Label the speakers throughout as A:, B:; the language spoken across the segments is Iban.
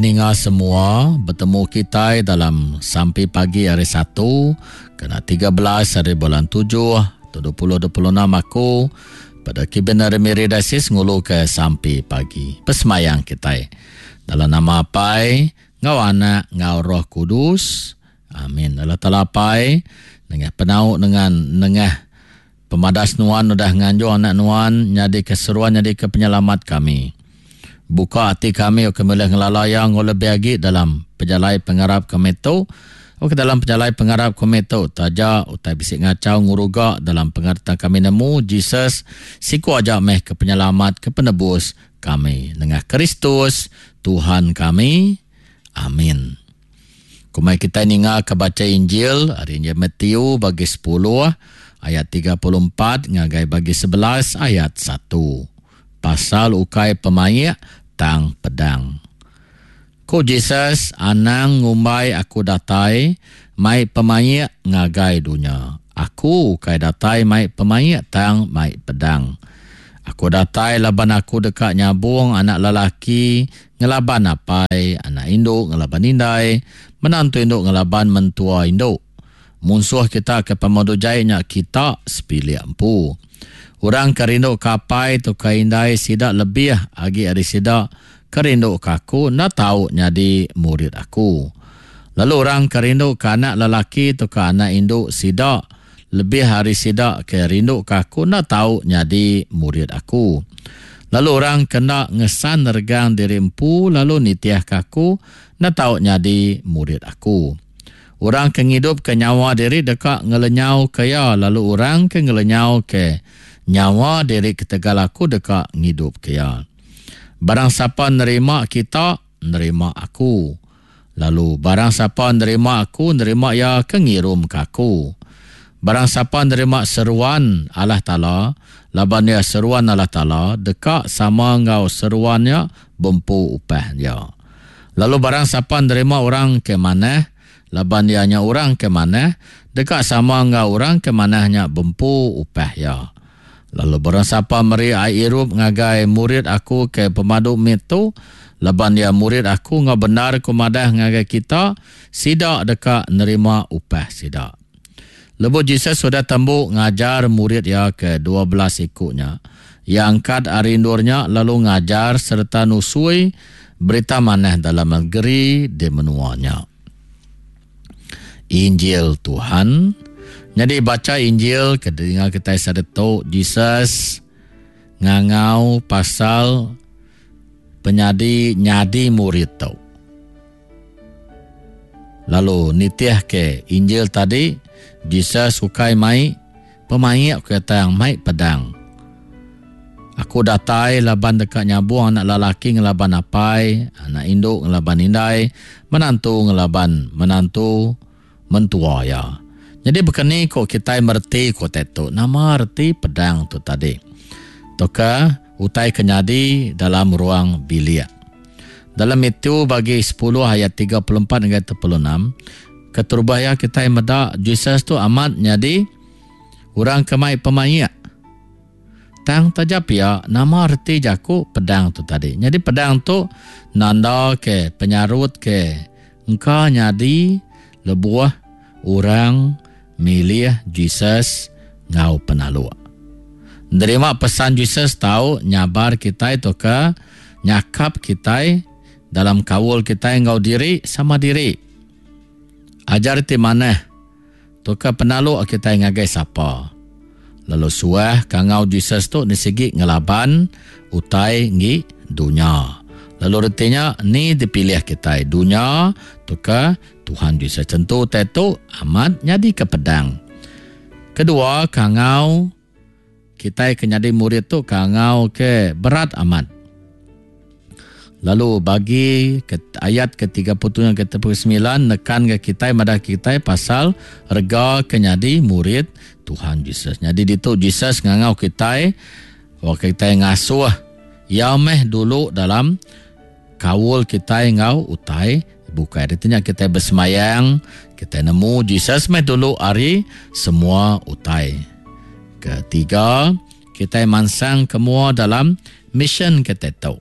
A: ninga semua betemu kitai dalam sampi pagi hari Satu kena 13 hari bulan 7 2026 aku pada Kibin ari Miri Diocese nguluka sampi pagi. Besemayang kitai. Dalam nama Apai, enggau Anak, enggau Roh Kudus. Amin. Allah Taala Apai, nengah penau dengan nengah Pemadas Nuan udah nganjung Anak Nuan nyadika seruan nyadika Penyelamat kami. Buka ati kami ok kami ulih ngelala Iya enggau lebih agi dalam pejalai pengarap kami tu. Ok dalam pejalai pengarap kami tu taja utai bisi ngachau ngeruga dalam pengarap tang kami nemu Jesus siku aja meh ke Penyelamat ke Penebus kami nengah Kristus Tuhan kami. Amin. Kumai kitai ninga ke bacha Injil ari Injil Matthew bagi sepuluh ayat 34 ngagai bagi 11 ayat 1. Pasal ukai pemaik tang pedang. Ku Jesus, Anang ngumbai aku datai mai pemaik ngagai dunya. Aku ukai datai mai pemaik tang mai pedang. Aku datai laban aku deka nyabung anak lelaki ngelaban apai, anak indu ngelaban indai, menantu indu ngelaban mentua indu. Munsuh kita ke pemadu jai nya kita sebilik empu. Orang ke rinduka apai tauka indai sida lebih agi ari sida ke rinduka aku enda tau nyadi murid aku. Lalu orang ke rinduka anak lelaki tauka anak indu sida lebih ari sida ke rinduka aku enda tau nyadi murid aku. Lalu orang ke enda ngesan regang diri empu lalu nitihka aku enda tau nyadi murid aku. Orang ke ngidupka nyawa diri deka ngelenyauka iya, lalu orang ke ngelenyauka nyawa diri ketegal aku deka ngidupka iya. Barang sapa nerima kita, nerima aku. Lalu barang sapa nerima aku, nerima iya ke ngirumka aku. Barang sapa nerima seruan Allah Taala, laban iya seruan Allah Taala, deka sama enggau seruan nya bempu upah iya. Lalu barang sapa nerima orang ke manah, laban iya nya orang ke manah, deka sama enggau orang ke manah nya bempu upah iya. Lalu barang sapa meri ai irup ngagai murid aku ke pemadu mit tu, laban iya murid aku enggau bendar ku madah ngagai kita, sida deka nerima upah sida. Lebuh Jesus udah tembu ngajar murid iya ke 12 iku nya, iya angkat ari endur nya lalu ngajar sereta nusui berita manah dalam negeri di menua nya. Injil Tuhan. Nyadi bacha Injil ke dinga kitai saritu, Jesus ngangau pasal penyadi nyadi murid tu. Lalu nitih ke Injil tadi, Jesus ukai mai pemaik ke tang mai pedang. Aku datai laban deka nyabung anak lelaki ngelaban apai, anak indu ngelaban indai, menantu ngelaban menantu mentua iya. Nyadi baka ni ko kitai mereti ko utai tu? Nama reti pedang tu tadi? Tauka utai ke nyadi dalam ruang bilik. Dalam Matthew bagi 10 ayat 34 hingga 36, keterubah iya kitai meda Jesus tu amat nyadi orang ke mai pemaik. Tang taja pia, nama reti jaku pedang tu tadi? Nyadi pedang tu nanda ke penyarut ke engka nyadi lebuh orang milih Jesus enggau penaluk. Nerima pesan Jesus tau nyabar kitai tauka nyakap kitai dalam kaul kitai enggau diri sama diri. Ajar ti manah tauka penaluk kitai ngagai sapa. Lalu suah kangau Jesus tu nisigi ngelaban utai enggi dunya. Lalu reti nya ni dipilih kitai dunya tauka Tuhan Jesus. Tentu utai tu amat nyadika pedang. Kedua, kangau kitai ke nyadi murid tu kangau ke berat amat. Lalu bagi ke ayat ke-37 ke 39 nekan ke kitai madah kitai pasal rega ke nyadi murid Tuhan Jesus. Nyadi ditu Jesus ngangau kitai waktu kitai ngasuh iya meh dulu dalam kaul kitai enggau utai bukai. Reti nya kitai besemayang, kitai nemu Jesus meh dulu ari semua utai. Ketiga, kitai mansang ke mua dalam mission kitai tu.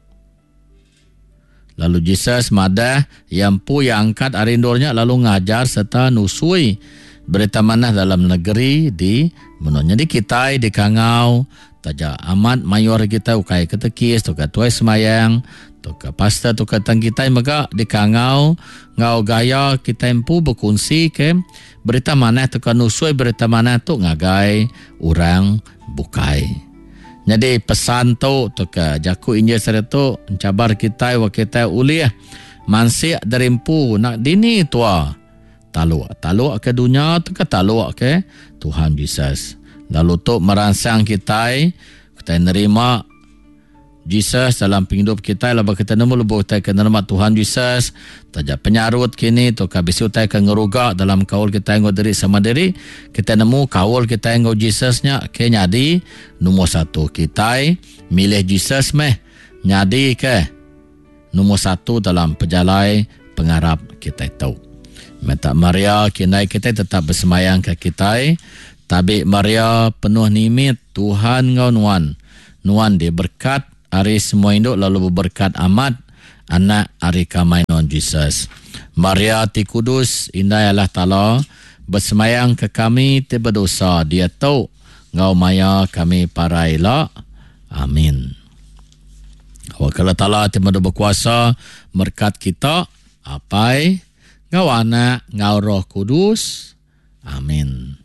A: Lalu Jesus madah iya empu iya angkat ari endur nya lalu ngajar sereta nusui Berita Manah dalam negeri di menua. Nyadi kitai dikangau taja amat mayuh ari kitai ukai katekis tauka tuai sembahyang tauka pastor tauka tang kitai mega dikangau enggau gaya kitai empu bekunsi ke Berita Manah tauka nusui Berita Manah tu ngagai orang bukai. Nyadi pesan tu tauka jaku Injil sehari tu enchabar kitai wak kitai ulih mansik diri empu nak dini tua taluk. Taluk ke dunya tauka taluk ke Tuhan Jesus. Lalu tu meransang kitai kitai nerima Jesus dalam pengidup kitai laban kitai nemu lebuh kitai ke nerima Tuhan Jesus taja penyarut kini tauka bisi utai ke ngeruga dalam kaul kitai enggau diri sama diri kitai nemu kaul kitai enggau Jesus nya ke nyadi nombor satu kitai milih Jesus meh nyadi ke nombor satu dalam pejalai pengarap kitai tu. Minta Maria ke indai kitai tetap besembayang ke kitai tabi Maria penuh nimit Tuhan enggau nuan Nuan diberkat ari semua indu lalu beberkat amat Anak ari kamai nuan Jesus. Maria ti kudus, Indai Allah Taala, besemayang ke kami ti bedosa diatu enggau maya kami parai ila. Amin. Awakka Allah Taala ti meda bekuasa merkat kita, Apai, enggau Anak, enggau Roh Kudus. Amin.